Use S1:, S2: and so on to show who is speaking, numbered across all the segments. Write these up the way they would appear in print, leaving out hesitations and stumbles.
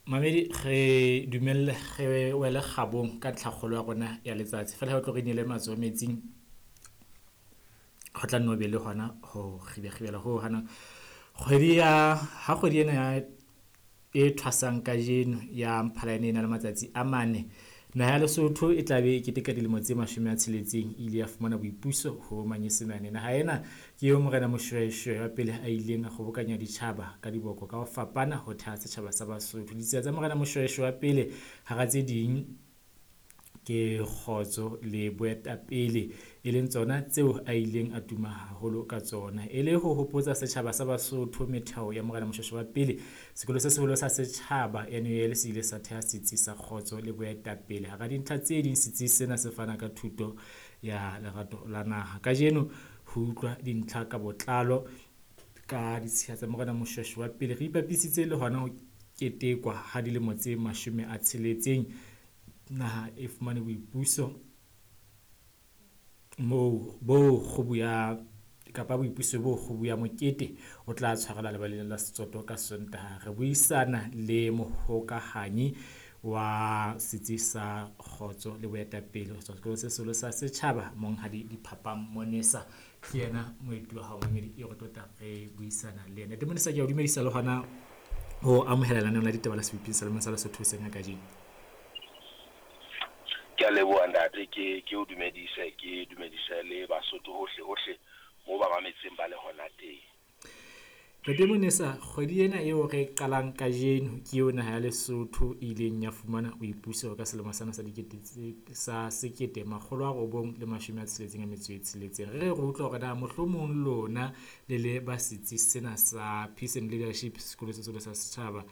S1: Mamedi, re dumelle re wele kgabong ka ntlhakgolo ya rona ya letsatsi. Feela ha o tlo re inele matsoho metsing, ho tla nne ho be le hona ho kgibekgibela ho hanang. Kgwedi ya, ha kgwedi ena ya e thwasang kajeno ya Mphalane e na le matsatsi a mane. Naha ya Lesotho e tla be e keteka dilemo tse 60 e ile ya fumana boipuso ho manyesemane. Naha ena ke eo Morena Moshoeshoe wa pele a ileng a kgobokanya ditjhaba ka diboko ka ho fapana ho theha setjhaba sa Basotho. Ditsela tsa Morena Moshoeshoe wa pele hara tse ding ke kgotso le boetapele, e leng tsona tseo a ileng a tuma haholo ka tsona. E le ho hopotsa setjhaba sa Basotho metheo ya Morena Moshoeshoe wa pele, sekolo se seholo sa setjhaba NUL se ile sa theha setsi sa kgotso le boetapele. Hara dintlha tse ding, setsi sena se fana ka thuto ya lerato la naha. Kajeno ho utlwa dintlha ka botlalo ka ditshiya tsa Morena Moshoeshoe wa pele, re ipapisitse le hona ho ketekwa ha dilemo tse 60 naha e fumane boipuso moo bo kgubu ya kapa boipuso bo kgubu ya mokete o tla tshwarelwa lebaleng la Setsoto ka Sontaha. Re buisana le mohokahanyi wa setsi sa kgotso le boetapele ho tswa sekolong se seholo sa setjhaba, Monghadi Diphapang Monesa. Ke yena moeti wa hao mamedi eo re tlo tla re buisana le yena. Ntate Monesa, ke a o dumedisa le hona ho amohela lenaneo la ditaba la Seboping sa Lemong sa Lesotho hoseng ha kajeno.
S2: Ke a leboha ntate, ke o dumedise, ke dumedise le Basotho hohle hohle mo ba mametseng ba le hona teng.
S1: Ntate Monesa, kgwedi ena eo re qalang kajeno ke eo naha ya Lesotho e ileng ya fumana boipuso ka selemo sena sa dikete sa 1966. Re re utlwa hore na mohlomong lona le le ba setsi sena sa Peace and Leadership sekolo se seholo sa setjhaba,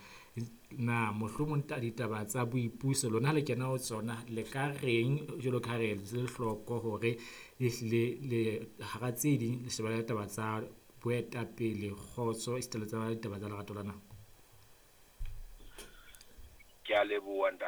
S1: na mohlomong ditaba tsa boipuso lona ha le kena ho tsona le ka reng jwalo ka ha re etse hloko hore ehlile le hara tse ding le shebana le taba tsa boetapele, kgotso, esita le tsa ditaba tsa lerato la naha?
S2: Ke a leboha ntate.